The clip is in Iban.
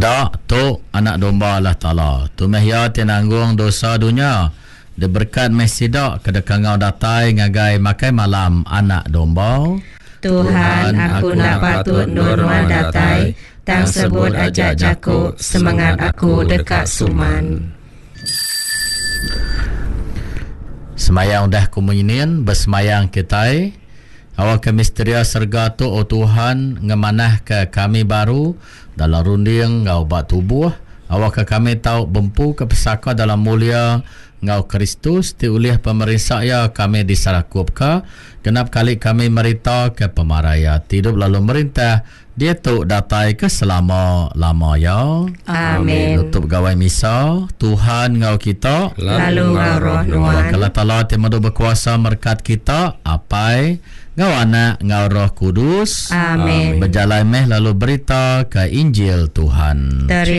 Peda, tu Anak Domba Allah Taala. Tu meh Iya ti nanggung dosa dunya. Diberekat meh sida ke deka enggau datai ngagai makai malam Anak Domba. Tuhan, aku enda patut endur Nuan datai, tang sebut aja jaku, semengat aku deka suman. Semayang udah ku menyinin, besemayang kitai. Awakka misteria serega tu, O Tuhan, ngemanahka kami baru dalam runding enggau ba tubuh, awakka kami tau bempuka pesaka dalam mulia enggau Kristus ti ulih pemerinsa Iya kami diserakupka genap kali kami meritaka pemarai Iya ti idup lalu merintah diatu datai ke selama-lama iya. Amin. Nutup Gawai Misa, Tuhan enggau kita. Lalu enggau roh nuan. Awakka Allah Taala ti Medu Bekuasa merekat kita, Apai, enggau Anak, enggau Roh Kudus. Amin. Bejalai meh lalu berita ke Injil Tuhan. Terima.